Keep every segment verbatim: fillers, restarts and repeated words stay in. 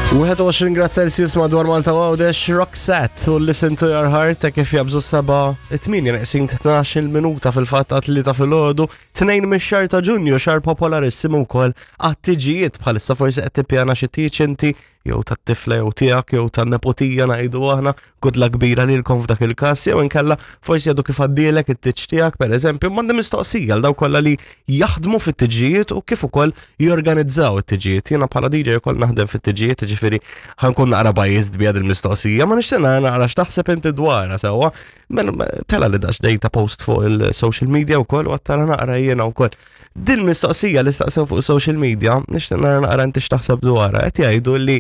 wieħed u għoxrin grad Celsius madwar Malta u Għawdex, Roxette u Listen to Your Heart ta' kif jabżu seba it-tmienja neqsin tnax-il minuta fil-fatt għat-tlieta filgħodu, tnejn mix-xahar ta' Ġunju, xahar popolarissimu wkoll għat-tiġijiet. Bħalissa forsi qed tippjana xi tieġ inti, jew tat-tifla jew tiegħek jew tan-nepotija ngħidu aħna, good luck kbira lilkom f'dak il-każ, jew inkella forsi għadu kif għaddielek it-tieġ tiegħek pereżempju. M'għandi mistoqsija għal dawk kollha li jaħdmu fit-tiġijiet u kif ukoll jorganizzaw it-tiġijiet. Jiena bħala D J ukoll naħdem fit-tiġijiet, ġifieri ħa nkun naqra biased bija il-mistoqsija, ma nixtieq nara naqra x'taħseb inti dwarha sewwa. Men tela li dax dejta post fuq il-social media wkoll u għattara naqra jiena wkoll. Din mistoqsija li staqsew fuq social media, nixtieq nara naqra inti x'taħseb dwarha. Qed jgħidu li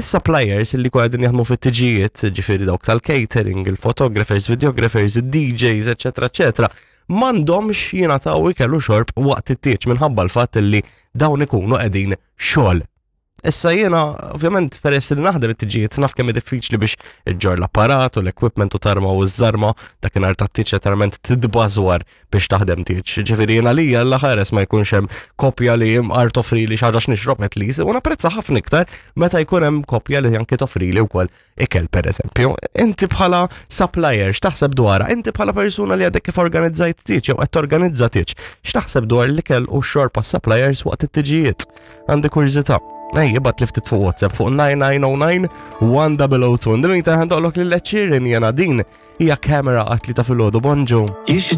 suppliers li kwa qegħdin jaħdmu fit-tiġijiet, ġifieri dawk tal-catering, il-photographers, videographers, il-D Js, eccetera, eccetera, m'għandhomx jingħataw ikel u xorb waqt it-tieġ minħabba l-fatt li dawn ikunu qegħdin xogħol. Issa jiena, ovvjament, peress li naħdem it-tiġijiet, naf kemm diffiċli biex iġġor l-apparat u l-equipment u tarma u ż-żarma dakinhar tat-tieġ, letteralment tidbażwar biex taħdem tieġ. Ġifieri jiena lija l ħares ma jkunx hemm kopja li imqar toffri li xi ħaġa x'nixrob at least, u napprezza ħafna iktar meta jkun hemm kopja li anke toffri li wkoll ikel, pereżempju. Inti bħala supplier x'taħseb dwarha? Inti bħala persuna li għadek kif organizzajt tieġ jew qed torganizza tieġ, x'taħseb dwar l-ikel u x-xorb suppliers waqt it-tiġijiet? Għandi kurżità. Ej, ibgħat li ftit fuq WhatsApp fuq nine nine zero nine one zero zero two. Ndimmin ta' għandoqlok li l-ċirin jena din hija Camera għat-tlieta filgħodu. Bonġu. You should